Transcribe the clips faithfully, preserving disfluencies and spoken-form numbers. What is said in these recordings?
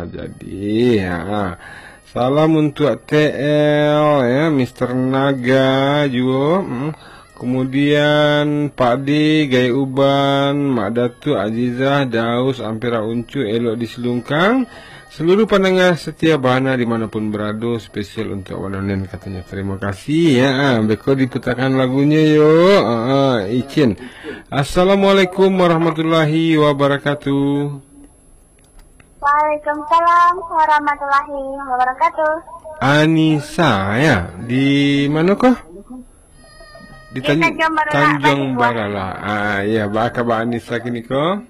Jadi, ha. Salam untuk T L, ya, Mister Naga juo. Hmm. Kemudian Pak D, Gai Uban, Mak Datuk, Azizah, Daus, Ampera Uncu, Elok di Selungkang. Seluruh pandangar setia Bahana di manapun berado, spesial untuk Wan Onen katanya. Terima kasih, ya. Ha, beko diputakan lagunyo, yo. Ha, ha, icin. Assalamualaikum warahmatullahi wabarakatuh. Waalaikumsalam warahmatullahi wabarakatuh. Anisa, ya. Di mano ko? Di Di Tan-, Tanjuang Barala, Tanjuang Batu Buah. Barala. Ah, ya, baa kaba Anisa kini ko?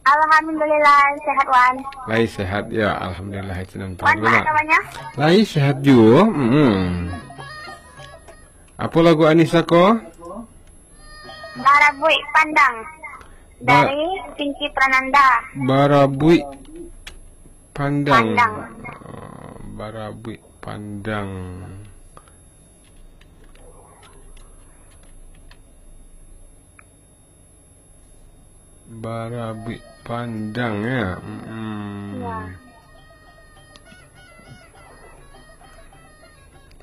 Alhamdulillah, sehat, Wan. Lai sehat, ya, alhamdulillah, itu nan Wan, paralu, baa nak. Kabanya? Lai sehat juo. Mm. Apo lagu Anisa ko? Barabuik Pandang. Ba- Dari Pinky Prananda. Barabuik Pandang. Pandang. Oh, Barabuik Pandang. Barabuik Pandang, ya. Mm-mm. Ya.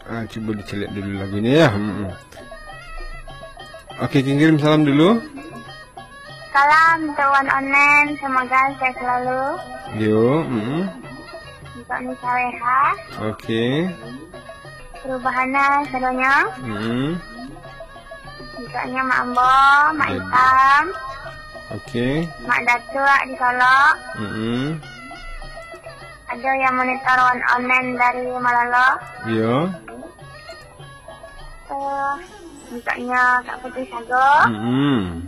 Ah, cubo dicaliak dulu lagunyo, ya. Mm-mm. Oke, kirim salam dulu. Salam untuk Wan Onen, semoga sehat selalu. Yo, mm-mm. Untuk Nisa Weha. Oke. Perubahannya sadonyo. Mm-mm. Untuknyo Mak Ambo, Mak Baik. Itam. Oke. Mak Datuak di Solok. Mm-mm. Ado yang monitor on-, online dari Malolo. Iyo. Eh, untuknyo Kak Putri Sago. Mm-mm.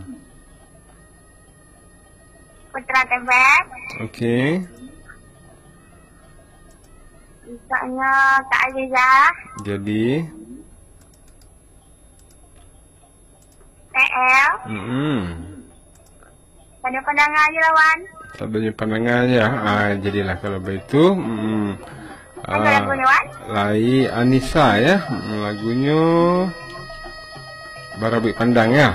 Putra Tebet. Oke. Untuknyo Kak Azizah. Jadi. T L. Mm-mm. Sadonyo pandangar ajo lah, Wan. Sadonyo pandangar ajo. Ah, jadilah kalau baitu. Mm-mm. Apo lagunyo, Wan? Lai Anisa, ya. Mm, lagunyo Barabuik Pandang, ya.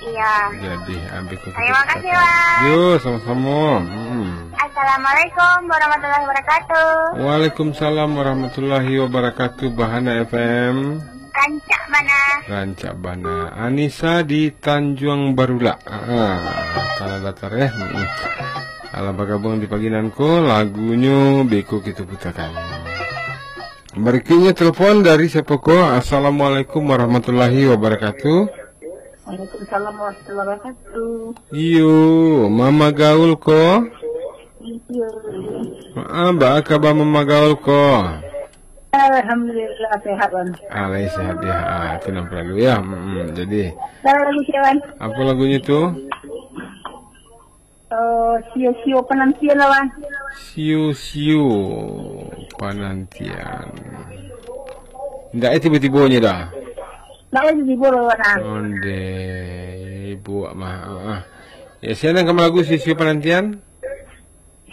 Iya. Jadi, ambil ko. Terima kasih, Wan. Yo, samo-samo. Mm-mm. Assalamualaikum warahmatullahi wabarakatuh. Waalaikumsalam warahmatullahi wabarakatuh, Bahana F M. Rancak bana. Rancak bana. Anisa di Tanjuang Barulak. Ah, Tanah Datar, ya. Mm-mm. Alah bagabuang di pagi nan ko, lagunyo beko kito putakan. Barikuiknyo telepon dari siapo ko? Assalamualaikum warahmatullahi wabarakatuh. Waalaikumsalam warahmatullahi wabarakatuh. Iyo, Mama Gaul ko? Iyo. Ah, baa kaba Mama Gaul ko? Alhamdulillah, sehat, Wan. Ah, lai sehat, ya. Ah, itu nan paralu, ya. Mm-mm, jadi. Salah lagu, Wan. Apo lagunyo tu? Eh, sio-sio panantian lah, Wan. Sio-sio panantian. Ndak, eh, tibo-tibonyo dah. Ndak, eh, tibo-tibo lah, Wan, ah. Ondeh, buek mah. Ah, ah. Ya, sia nan ka malagu sio-sio panantian?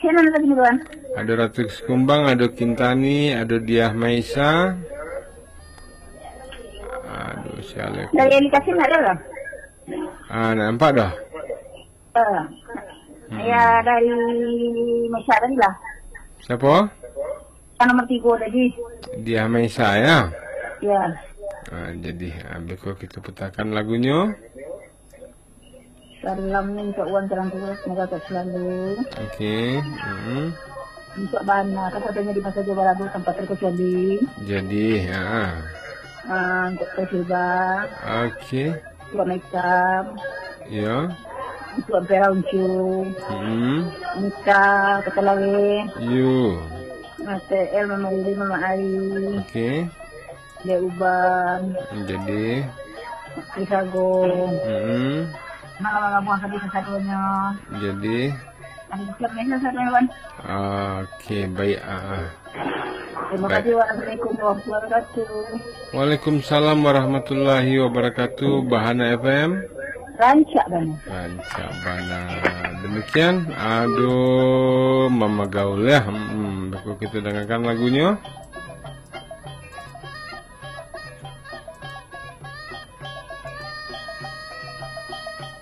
Sia nan tadi, Wan? Ado Ratu Sekumbang, ado Kintani, ado Diah Maisa. Aduh, sia lai. Dari Eli Kasim ndak ado lah? Ah, ndak nampak dah. Eh, hmm. Ya, dari Maisa tadi lah. Siapo? Yang nomor tigo tadi. Diah Maisa, ya? Ya. Ah, jadi, ah, beko kito putakan lagunyo. Salam ni untuk Wan Terang Terus, semoga sehat selalu. Oke, mm. Untuk Bana, kan katanya di masa Jawa Rabu tanpa terkecuali. Jadi, ya. Ah, untuk Persilba. Oke. Buat makeup. Ya. Buat perauncung. Hmm. Nika, Kota Lawe. Yo. Mas T L, Mama Lili, Mama Ai. Oke. Dia Uban. Jadi. Mak Sago. Hmm. Malam-malam buang habis satunya. Jadi. Ada siap ni satu, Wan. Oke, baik. Ah, ah. Terima kasih. Wassalamualaikum warahmatullahi wabarakatuh. Waalaikumsalam warahmatullahi wabarakatuh. Bahana F M. Rancak bana. Rancak bana. Demikian, aduh, Mama Gaul, ya. Hmm, beko kito dangakan lagunyo.